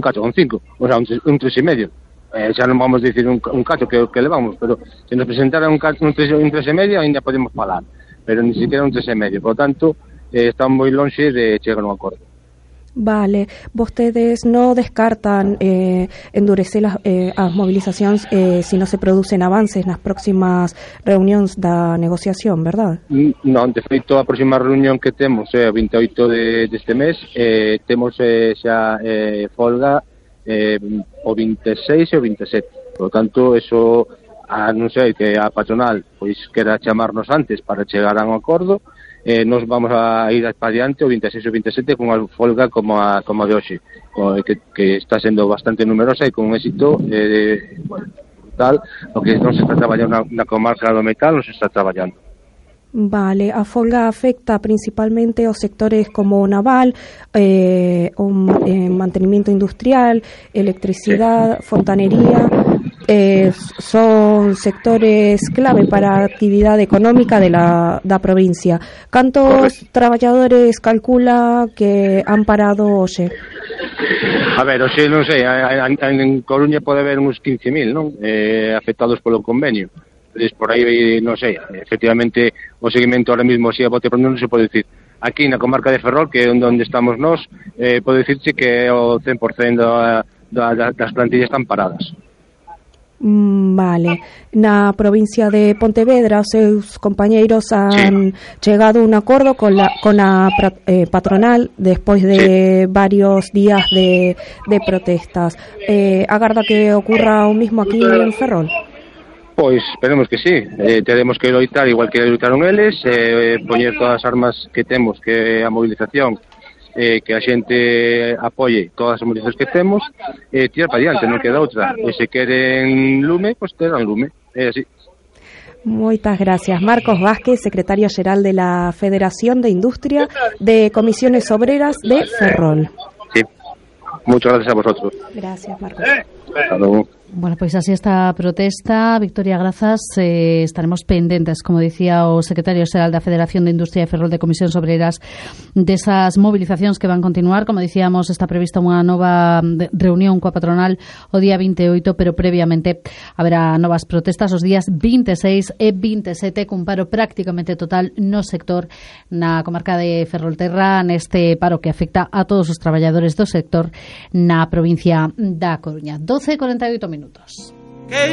cacho con 5, o sea, un 3,5. Xa non vamos dicir un cacho que levamos, pero se nos presentara un 3,5 ainda podemos falar, pero ni siquiera un 3,5, por lo tanto están moi lonxe de chegar a un acordo. Vale, vostedes no descartan endurecer as mobilizacións se non se producen avances nas próximas reunións da negociación, verdad? Non, de feito, a próxima reunión que temos é o 28 deste mes, temos xa folga o 26 e o 27, por lo tanto, eso, non sei, que a patronal pois quera chamarnos antes para chegar a un acordo. Nos vamos a ir para adiante o 26 e o 27 con unha folga como a de hoxe, que está sendo bastante numerosa e con un éxito brutal, o que non se está traballando na comarca do metal, non se está traballando. Vale, a folga afecta principalmente os sectores como naval, mantenimiento industrial, electricidade, fontanería. Son sectores clave para a actividade económica da provincia. Cantos traballadores calcula que han parado hoxe? A ver, hoxe non sei, en Coruña pode haber uns 15.000, non? Afectados polo convenio. Por aí, non sei, efectivamente o seguimento ahora mismo así a bote pronto non se pode dicir. Aquí na comarca de Ferrol, que é onde estamos nós, pode dicirse que o 100% das plantillas están paradas. Vale. Na provincia de Pontevedra os seus compañeiros han chegado a un acordo con a patronal despois de varios días de protestas. Agarda que ocurra o mismo aquí en Ferrol? Pois esperemos que sí, teremos que loitar igual que loitaron eles, poñer todas as armas que temos, que a movilización, que a xente apoie todas as movilizacións que temos, tirar para diante, non queda outra. E se queren lume, pois terán lume, é así. Moitas gracias. Marcos Vázquez, secretario xeral de la Federación de Industria de Comisiones Obreras de Ferrol. Sí, muchas gracias a vosotros. Gracias, Marcos. Hasta luego. Bueno, pois así esta protesta, Victoria Grazas, estaremos pendentes, como dicía o secretario xeral da Federación de Industria de Ferrol de Comisións Obreras, desas movilizacións que van continuar. Como dicíamos, está prevista unha nova reunión coa patronal o día 28, pero previamente haberá novas protestas os días 26 e 27, cun paro prácticamente total no sector na comarca de Ferrolterra, neste paro que afecta a todos os traballadores do sector na provincia da Coruña. 12:48 minutos.